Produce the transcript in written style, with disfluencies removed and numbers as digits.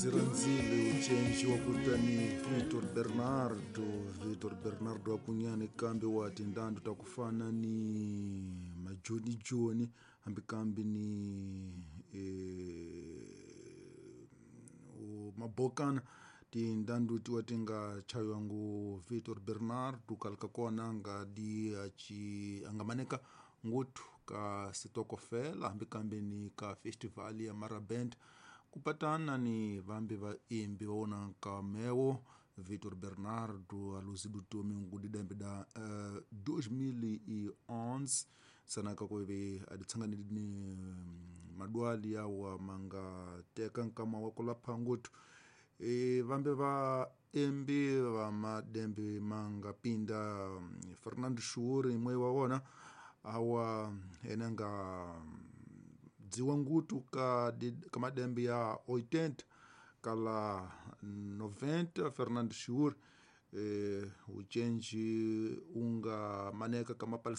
Ndzi rhandzile ucenji wa kutani Vitor Bernardo. Vitor Bernardo akunyani kambe wa tindhandu ta ku fana ni majoni joni hambi kambe ni mabokana tindhandu tiwa ti nga chayiwa ngu Vitor Bernardo kala ka kona nga di aci a nga maneka nguthu ka sitokofela hambi kambe ni ka festival ya Maraband kupatana ni vambi vaimbi va wona nkamewo. Vitor Bernardo aluzidu tomi ngudidembe da 2011 sanaka kuve aditsanganidi ni madwali yawa manga teka nkama wa kulapha nguthu. Vambi vaimbi va madembe manga pinda Fernando Shuuri imwe wa wona awa ene nga dziwa ngutu ka, ka madembe ya 80 kala 90. Fernando Shuuri ucenji unga maneka ka mapalisa.